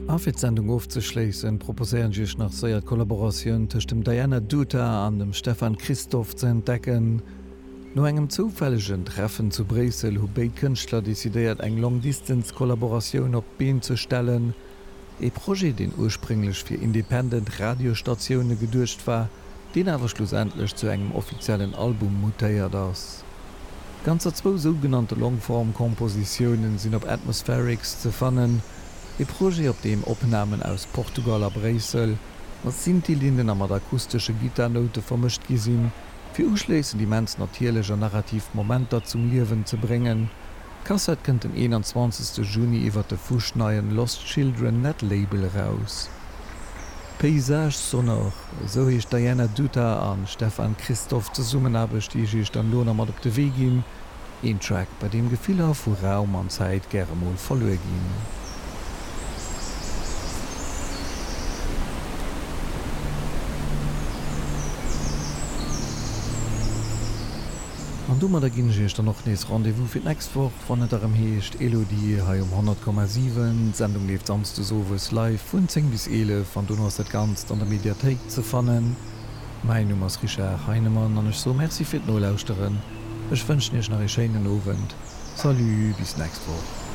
A fir d'Sendung ofzeschléissen, proposéieren ech iech nach séier d'Kollaboratioun tëscht dem Diana Duta an dem Stefan Christoff ze entdecken. No engem zoufällegen Treffen zu Bréissel hu béid Kënschtler decidéiert eng Long-Distance-Kollaboratioun op d'Been ze stellen. Ee Projet, deen ursprénglech fir independent Radiosstatioune geduecht war, deen awer schlussendlech zu engem offiziellen Album mutéiert ass. Ganzer zwou sougenannte Longform-Kompositiounen sinn op Atmospherics ze fannen, ee Projet op deem Opnamen aus Portugal a Bréissel mat Synthi-Linnen a mat akustesche Gittarnoute vermëscht gi sinn, fir uschléissend immens natierlech an narrativ Momenter zum Liewen ze bréngen. D'Kassett kënnt den 21. Juni iwwert de fuschneien Lost Children Netlabel eraus. Paysage sonore, esou heescht Diana Dutta an Stefan Christoff Zesummenaarbecht, déi ech iech dann elo nach mat op de Wee ginn. Een Track, bei deem Gefiller vu Raum an Zäit gäre mol verluer ginn. An domadder ginn ech iech dann och nees Rendez-vous fir d'nächst Woch, wann et erëm heescht Elodie hei um 100,7. D'Sendung leeft samsdes owes live vun 10 bis 11 an dono ass dat Ganzt an der Mediathéik ze fannen. Mäin Numm ass Richard Heinemann an ech soe Merci fir d'Nolauschteren. Ech wënschen iech nach ee schéinen Owend. Salut, bis d'nächst Woch.